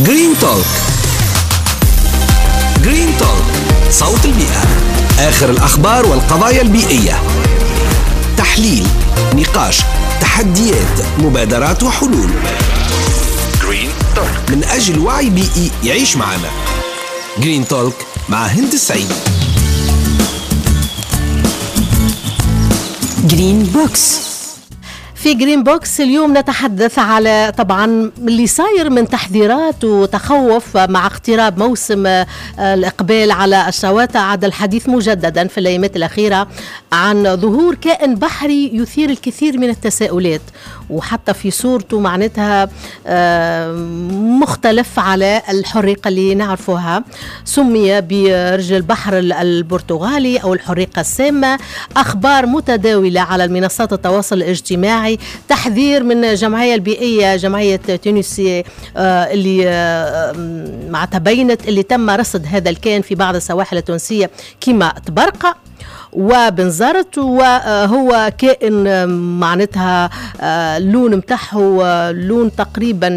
Green Talk. Green Talk، صوت البيئة، آخر الأخبار والقضايا البيئية، تحليل، نقاش، تحديات، مبادرات وحلول. Green Talk من أجل وعي بيئي يعيش معنا. Green Talk مع هند السعيد. Green Box. في Green Box اليوم نتحدث على طبعا اللي صاير من تحذيرات وتخوف مع اقتراب موسم الإقبال على الشواطئ. عاد الحديث مجددا في الأيامات الأخيرة عن ظهور كائن بحري يثير الكثير من التساؤلات، وحتى في صورته معناتها مختلف على الحريقة اللي نعرفها. سمي برجل البحر البرتغالي أو الحريقة السامة. أخبار متداولة على المنصات التواصل الاجتماعي، تحذير من الجمعية البيئية جمعية تونسي اللي مع تبينت اللي تم رصد هذا الكائن في بعض السواحل التونسية كما تبرقة وبنزرت، وهو كائن معناتها اللون متاعه لون تقريبا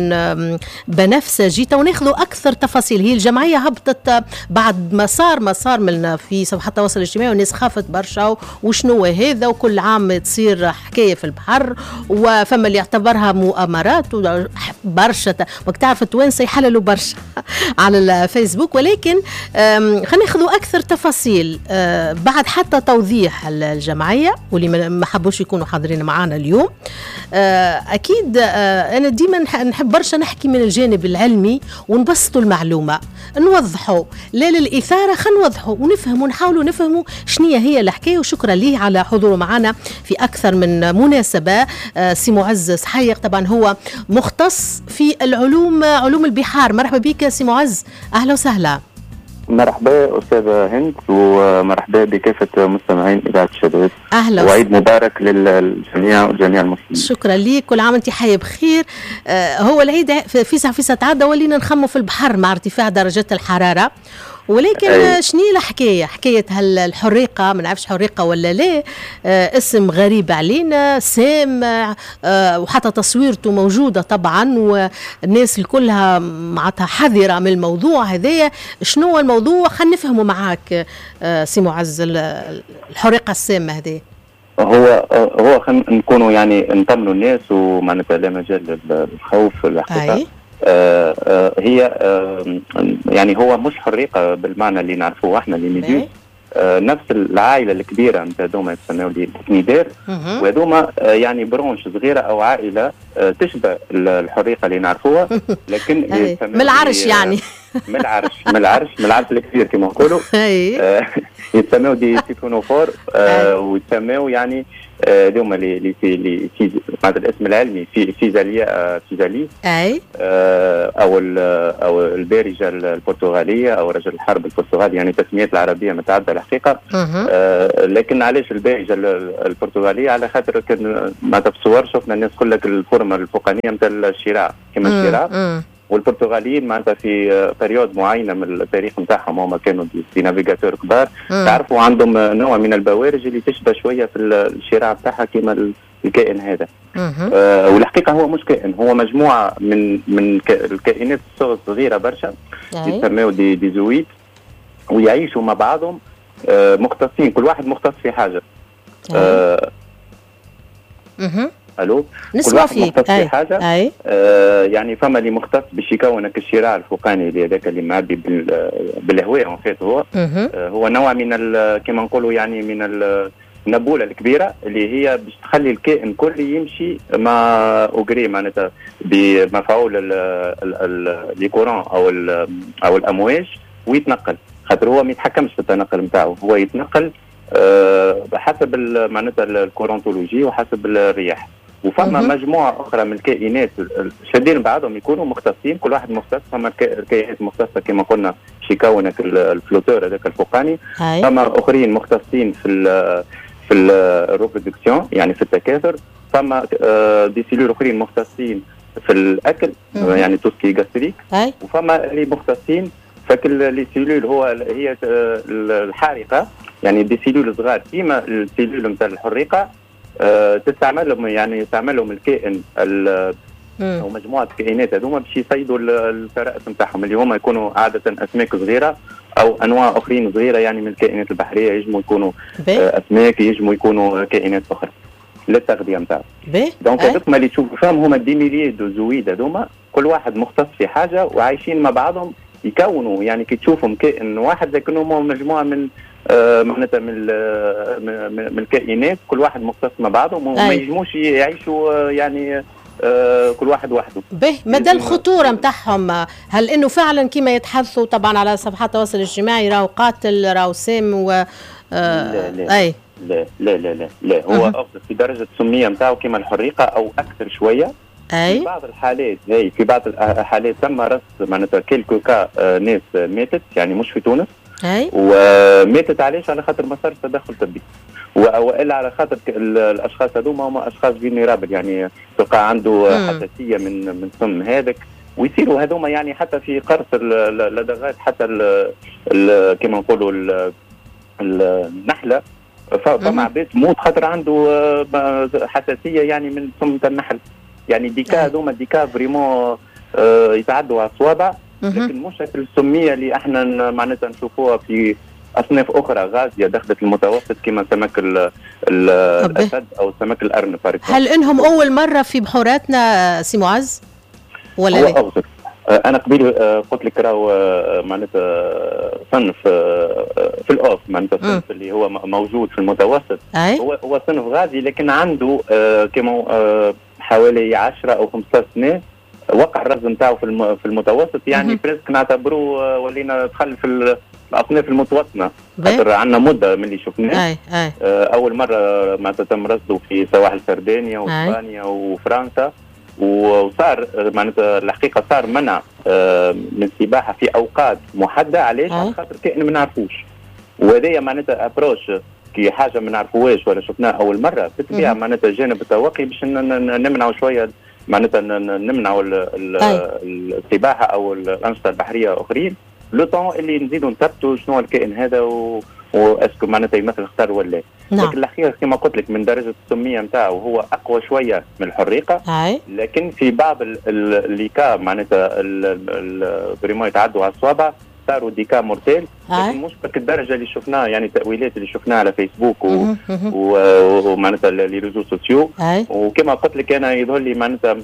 بنفسجي. وناخذوا اكثر تفاصيل. هي الجمعية هبطت بعد ما صار من في صفحات التواصل الاجتماعي، والناس خافت برشا وشنو هذا، وكل عام تصير حكاية في البحر، وفما اللي يعتبرها مؤامرات برشا. وقت تعرف التوانسة يحللوا برشا على الفيسبوك. ولكن خلينا ناخذوا اكثر تفاصيل بعد حتى توضيح الجمعية واللي ما حبوش يكونوا حاضرين معنا اليوم. أكيد أنا ديما نحب برشا نحكي من الجانب العلمي ونبسطوا المعلومة، نوضحوا لا للإثارة، خلينا نوضحوا ونفهموا، نحاولوا نفهموا شنية هي الحكاية. وشكرا ليه على حضوره معنا في أكثر من مناسبة. سي معز سحيق طبعا هو مختص في العلوم، علوم البحار. مرحبا بك سي معز، أهلا وسهلا. مرحبا أستاذة هند، ومرحبا بكافة مستمعين إذاعة الشباب. أهلا، وعيد مبارك للجميع وجميع المسلمين. شكرا لك، كل عام وأنت حي بخير. هو العيد في ساعة تعدى ولينا نخمو في البحر مع ارتفاع درجات الحرارة، ولكن شنو الحكاية؟ حكاية هالحريقه، ما نعرفش حريقة ولا لا، اسم غريب علينا، سام، وحتى تصويرته موجودة طبعا، والناس كلها معناتها حذره من الموضوع هذايا. شنو الموضوع؟ خلينا نفهمه معاك سي معز، الحريقه السامة هذه. هو خلينا نكونوا يعني نطمنوا الناس، ومعناتها لا مجال للخوف الحقيقة. هي يعني هو مش حريقة بالمعنى اللي نعرفوه احنا les méduses. نفس العائلة الكبيرة نتاع هذوما يتسموا les cnidaires، وهذوما يعني branche صغيرة او عائلة تشبه الحريقه اللي نعرفوها، لكن من العرش، يعني من العرش من العرش الكبير كما نقولوا. يتسموا des siphonophores، ويتسموا يعني هذوما les معناتها الاسم العلمي في Physalia physalis، اي او او البارجه البرتغالية او رجل الحرب البرتغالي، يعني التسميات العربية متعددة الحقيقة. لكن علاش البارجه البرتغالية؟ على خاطر كان معناتها في الصور شفنا الناس كلها ال forme الفوقانيه نتاع الشراع كما الشراع، والبرتغاليين معناتها في période معينة من التاريخ نتاعهم هما كانوا des navigateurs كبار، تعرفوا عندهم نوع من البوارج اللي تشبه شوية في الشراع بتاعها كما الكائن هذا. والحقيقة هو مش كائن، هو مجموعة من الكائنات الصغيرة برشا يسميو des zoïdes، ويعيشوا مع بعضهم مختصين، كل واحد مختص في حاجة. الو، كل واحد مختص في حاجة. يعني فما اللي مختص باش يكون الشراع الفوقاني اللي هذاك اللي معبي بالهواء en fait. هو هو نوع من كما نقولوا يعني من النبوله الكبيرة اللي هي باش تخلي الكائن كله يمشي مع au gré معناتها بمفعول les courants او الامواج ويتنقل، خاطر هو ما يتحكمش في التنقل نتاعو، هو يتنقل حسب معناتها ال courantologie وحسب الرياح. وفما مجموعة اخرى من الكائنات شادين بعضهم يكونوا مختصين، كل واحد مختص. فما الكائنات مختصة كما قلنا باش يكونك ال flotteur هذاك الفوقاني، فما اخرين مختصين في ال reproduction يعني في التكاثر، فما des cellules اخرين مختصين في الاكل يعني tout ce qui est gastrique، وفما اللي مختصين فكل les cellules هو هي الحارقه، يعني des cellules صغار كيما ال cellules نتاع الحريقه، تستعملهم يعني يستعملهم الكائن او مجموعة كائنات هذوما باش يصيدوا الفرائس نتاعهم اللي هما يكونوا عادة اسماك صغيرة او انواع اخرين صغيرة يعني من الكائنات البحرية، يجموا يكونوا اسماك، يجموا يكونوا كائنات اخرى للتغذيه نتاعهم. donc هذوك اللي تشوفوا فيهم هما des milliers de zooïdes هذوما، كل واحد مختص في حاجة وعايشين مع بعضهم، يكونوا يعني كي تشوفهم كائن واحد لكنهم مجموعة من معناتها من الكائنات، كل واحد مختص مع بعضهم وما يجموش يعيشوا يعني كل واحد وحده. به مدى الخطورة نتاعهم، هل انه فعلا كما يتحدثوا طبعا على صفحات التواصل الاجتماعي راهو قاتل راهو سام و لا لا. أي. لا لا لا لا لا، هو افضل في درجه السمية نتاعو كما الحريقه او اكثر شوية. أي. في بعض الحالات هي في بعض الحالات تم رصد معناتها quelques cas ناس ماتت، يعني مش في تونس. أي. وماتت علاش؟ على خاطر ما صارش تدخل طبي، والا على خاطر الاشخاص هذوما هما اشخاص vulnérables، يعني تلقى عنده حساسية من سم هذاك، ويصيروا هذوما يعني حتى في قرص اللدغات، حتى كما نقولوا النحلة، فما عباد تموت خاطر عنده حساسية يعني من سم النحل. يعني des cas هذوما des cas vraiment يتعدوا على الصوابع، لكن مش السمية اللي احنا معناتها نشوفوها في اصناف اخرى غازية دخلت المتوسط كما سمك الاسد او سمك الارنب. هل انهم اول مرة في بحوراتنا سي معز ولا لا؟ هو انا قبيل قلت لك راهو معناتها صنف في الاوف، معناتها صنف اللي هو موجود في المتوسط. هو صنف غازي، لكن عنده كما حوالي 10 او 15 سنة وقع الرصد نتاعو في المتوسط، يعني presque نعتبروه ولينا دخل في الاصناف المتوطنه، خاطر عندنا مده من اللي شفناه. اول مرة معناتها تم رصده في سواحل سردينيا واسبانيا وفرنسا، وصار معناتها الحقيقة صار منع من السباحة في اوقات محددة. علاش؟ على خاطر كائن ما نعرفوش، وهذايا معناتها approche كي حاجة ما نعرفوهاش ولا شفناها اول مرة بالطبيعة معناتها جانب التوقي باش نمنعوا شوية، معناتها نمنعوا السباحة او الانشطة البحرية اخرين le temps اللي نزيدوا نثبتوا شنو الكائن هذا و est-ce que معناتها يمثل خطر ولا. نعم. لكن الحقيقة كما قلت لك من درجه السمية نتاعو هو اقوى شوية من الحريقه. لكن في بعض les cas معناتها vraiment يتعدوا على الصوابع، صاروا des cas mortels، لكن مش بك الدرجة اللي شفناها، يعني التاويلات اللي شفناها على فيسبوك ومعناتها les réseaux sociaux. وكما قلت لك انا يظهر لي معناتها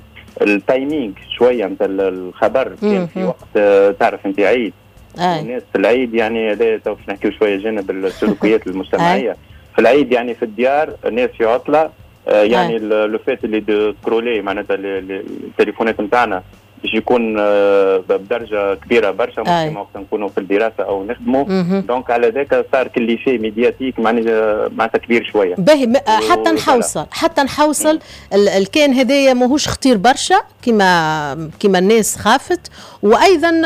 ال timing شوية نتاع الخبر كان في وقت تعرف انت عيد، الناس في العيد، يعني هذا تو باش نحكيو شوية جانب السلوكيات المجتمعية. في العيد يعني في الديار الناس في عطله، يعني le fait اللي de scroller معناتها التليفونات نتاعنا باش يكون بدرجة كبيرة برشا، ممكن وقت نكونوا في الدراسة او نخدموا، donc على ذاك صار كل شيء médiatique معناتها كبير شوية. باهي، حتى نحوصل الكائن هذايا ماهوش خطير برشا كما الناس خافت، وايضا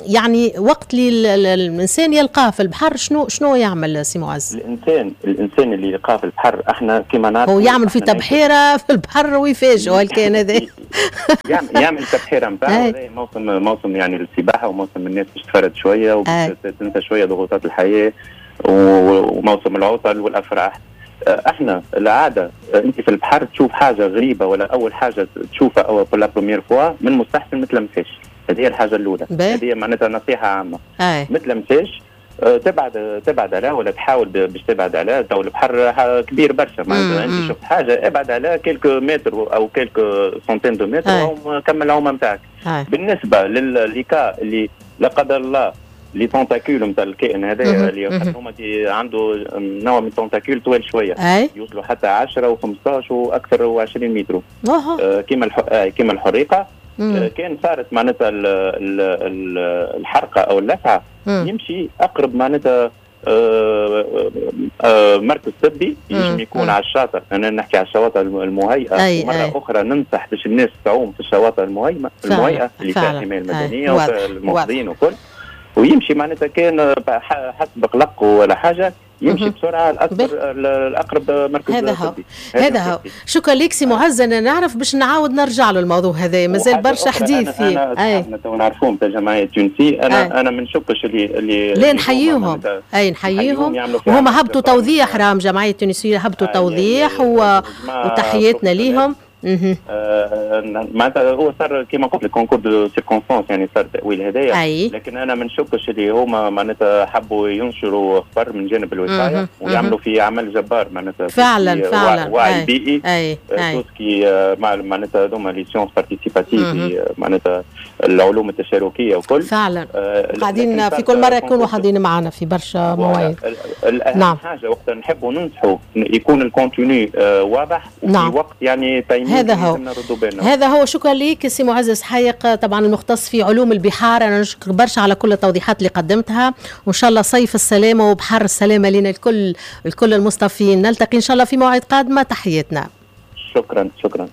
يعني وقت اللي الانسان يلقاه في البحر شنو يعمل سي معز؟ الانسان اللي يلقاه في البحر احنا كما نعرف هو يعمل في تبحيره في البحر ويفاجئ الكائن هذا. يعمل تبحيره نتاعو، موسم يعني السباحة، وموسم الناس باش تفرد شوية وتنسى شوية ضغوطات الحياة، وموسم العطل والافراح. احنا العادة انت في البحر تشوف حاجة غريبة ولا اول حاجة تشوفها او pour la première fois، من المستحسن ما تلمسهاش. هذه هي الحاجة الاولى، هذه معناتها نصيحة عامة. ما تلمسهاش، تبعد عليها ولا تحاول باش تبعد عليها. تو البحر كبير برشا، معناتها انت شفت حاجة ابعد عليها quelques mètres او quelques centaines de mètres او كمل العومه نتاعك. بالنسبة ل les cas اللي لا قدر الله les tentacules نتاع الكائن هذا اللي هما عنده نوع من tentacules طويل شوية، يوصلوا حتى 10 و15 واكثر و20 متر. كيما الحريقه. كان صارت معناتها الحرقة او اللسعه، يمشي اقرب معناتها مركز طبي يجم يكون على الشاطئ. انا نحكي على الشواطئ المهيئه. ومرة اخرى ننصح باش الناس تعوم في الشواطئ المهيئه اللي فيها الحماية المدنية والمنقذين وكل، ويمشي معناتها كان حسب قلق ولا حاجة يمشي بسرعة الاقرب مركز. هذا هو. شكرا لك سي معز. انا نعرف باش نعاود نرجع له الموضوع هذا، مازال برشا حديث فيه. احنا تو نعرفوهم تاع الجمعية التونسية. انا ما نشكش اللي لا نحييهم، اي نحييهم، وهما هبطوا توضيح، راهم جمعية التونسية هبطوا توضيح وتحياتنا ليهم. معناتها هو صار كما قلت لك concours de circonstances، يعني صار التاويل هذايا، لكن انا ما نشكش اللي هما معناتها حبوا ينشروا خبر من جانب الوقاية ويعملوا في عمل جبار معناتها. فعلا فعلا. وعي بيئي، tout ce qui معناتها هذوما les sciences participatives، معناتها العلوم التشاركيه وكل. فعلا قاعدين في كل مرة يكونوا حاضرين معنا في برشا مواعيد. نعم. حاجة وقت نحبوا ننصحوا يكون ال contenu واضح وفي وقت يعني هذا هو، هذا هو. شكرا لك سي معز سحيق، طبعا المختص في علوم البحار. انا نشكر برشا على كل التوضيحات اللي قدمتها، وان شاء الله صيف السلامة وبحر السلامة لنا الكل، الكل المصطفين. نلتقي ان شاء الله في موعد قادمه، تحياتنا. شكرا شكرا.